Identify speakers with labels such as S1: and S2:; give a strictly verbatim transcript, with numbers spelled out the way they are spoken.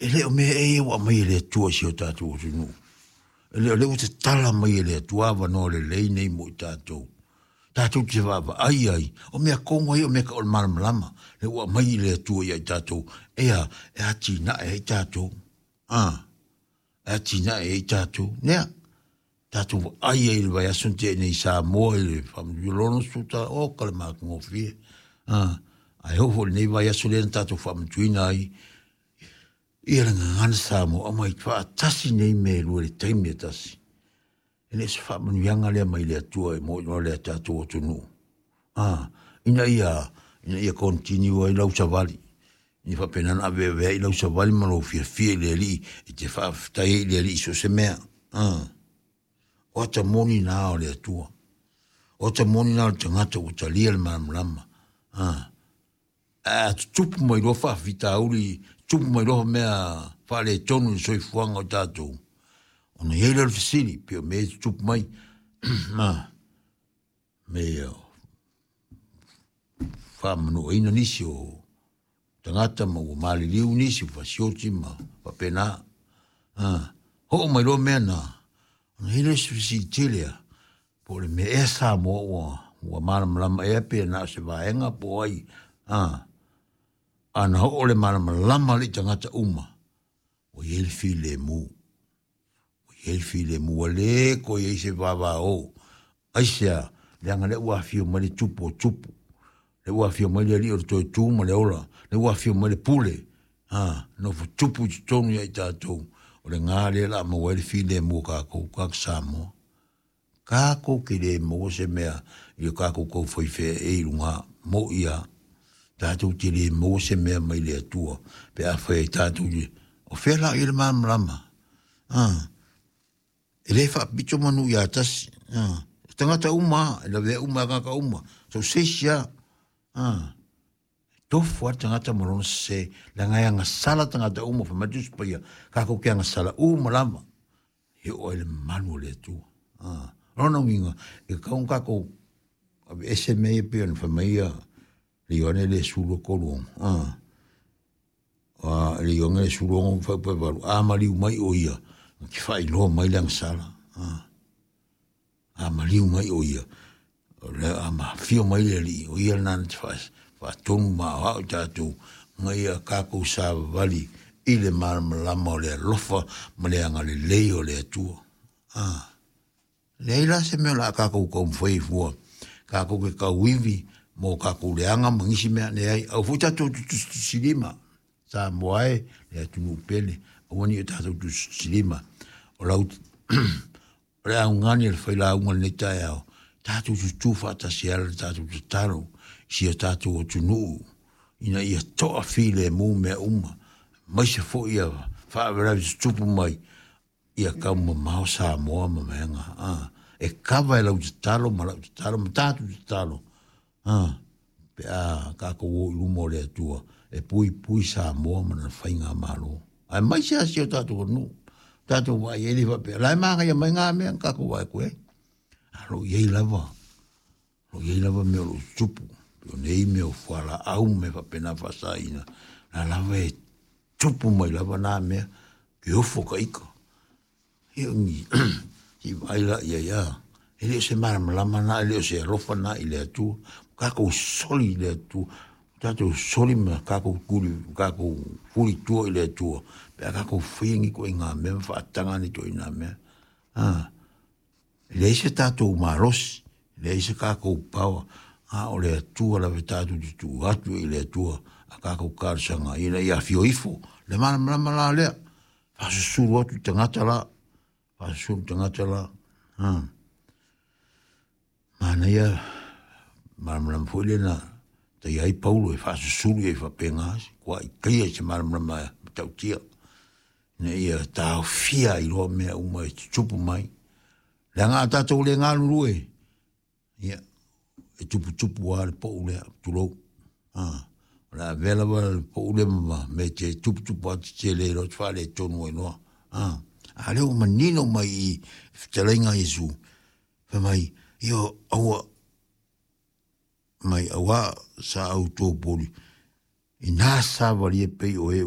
S1: E le o mea ea ia ua aumai e le Atua i si o tatou atunuu. E le o lea ua tatala mai e le Atua avanoa lelei nei mo i tatou. Tatou te vaavaai ai, o mea tonu lava ia o mea tau o le malamalama, lea ua aumai e le Atua ia i tatou, e a, e atinae ai tatou. A, e atinae ai tatou. Nea, tatou vaai ai i le vaiaso na tea nei i Samoa i le faamatuina tala, oka le matagofie. A, ae oo foi i lenei vaiaso lea na tatou faamatuina ai ia le gagana Samoa, aumai faatasi nei mea e lua i le taimi e tasi. E le o se faamanuiaga lea mai le Atua e mo i le tatou atunuu. A, ina ia, ina ia continue ai lau savali. Ina faapena ona aveaveai ai lau savali ma lou fiafia i le Alii, e te faafetai ai i le Alii i so o se mea. A, o ata moni na o le Atua. O ata moni na o le tagata ua talia le malamalama. A, a tutupu mai loa faafitauli, tupu mai loa mea faaletonu i le soifuaga o tatou, ona i ai lea o le fesili, pei o mea e tutupu mai, ma mea ia faamanuaina nisi o tagata ma ua maliliu nisi, ua fasioti ma faapena. A, oo mai loa mea na, ona i ai lea o se fesili tele lava, po o le mea ea Samoa ua, ua malamalama ea pe na o se vaega po o ai. A, ana oo le malamalama le i tagata uma, ua i ai le filemu. Ua i ai le filemu, ua le toe i ai se vavao. Aisea? Leaga lea ua afio mai le Tupu o Tupu, lea ua afio mai le Alii o le toe tu ma le ola, lea ua afio mai le Pule, a, nofo tupu i totonu ia i tatou. O le ga lea o le a maua ai le filemu o kākou tagata Samoa. Kākou te le maua se mea i o kākou taufai feaei i luga, mo'i lava. Tatou te le maua se mea mai le Atua pe afai ai tatou te, o fea la o i ai le malamalama? A, e le faapito manu ia tasi. A, tagata uma lava, e lavea uma lava tagata uma, so o se isi lava. A, e tofu lava le tagata ma lona sese, leaga e agasala tagata uma, fai mai le Tusi Paia, kākou te agasala uma lava, e oo ai le mamalu o le Atua. A, o lona uiga, e tatau ona tatou aveese mea ia pei ona fai mai ia le Ioane le sefulu tolu ono. A, a le Ioane le sefulu ono fuaiupu e valu, a maliu mai o ia, na te faailoa mai le agasala. A, a maliu mai o ia, o le a afio mai le Alii, o ia lena na te faatonu ma aoao i tatou, ina ia tatou savavali i le malamalama o le alofa ma le agalelei o le Atua. A, leai la se mea o le a tatou taumafai ai fua, tatou te tauivi mo tatou leaga ma nisi mea, leai, aua foi tatou te tusitusilima, Samoa e, le atunuu pele, aua ne i o tatou tusitusilima. O lau o le augani a le failauga i lenei taeao, tatou tutu faatasi ai le tatou tatalo i si o tatou atunuu, ina ia toafilemu mea uma, aemaise foi ia faalavelave tutupu mai, ia taumamao Samoa ma mea. A, e kava e lau tatalo ma lau tatalo ma tatou tatalo, a, pe a tatou o i luma o le Atua, e puipui Samoa ma lana faigamalo. Aemaise lava si o tatou atunuu, tatou vaai ai le faapea, la e manaia mai ngā mea na tatou vaai atu ai. A o lo o i ai lava, o lo o i ai lava mea o lo o tutupu, pei o nei mea o fualaau ma mea faapena faasaina, la lava e tupu mai lava nā mea, ke ofo ka ika. Ia o ni, se i vaai la i ai, a, e le o se malamalama na, e le o se alofa na i le Atua. Tatou soli i le Atua, tatou soli ma tatou tuli, tatou fulitua i le Atua, pe a tatou faia ni ituaiga mea ma faataga ni ituaiga mea. A, e leai se tatou malosi, e leai se tatou power, a o le Atua lava e tatou te tuu atu i le Atua a tatou talosaga ina ia afio ifo le malamalama la lea, faasusulu atu i tagata la, faasusulu i tagata la. A, manaia malamalama foi lea na taia ai Paulo e faasusulu i ai faapena, kua ikaia i se malamalama matautia, ina ia taofia ai loa mea uma e tutupu mai. Leaga a tatou le galulue, ia, e tuputupu lava le pou lea, tulou. A, o le a avea lava le pou lea ma mea te tuputupu atu tele loa te faaletonu ai loa. A, a lea ua manino mai i fetalaiga a Iesu, fai mai, ia aua, mai aua sa outou poli, ina savalia pei o e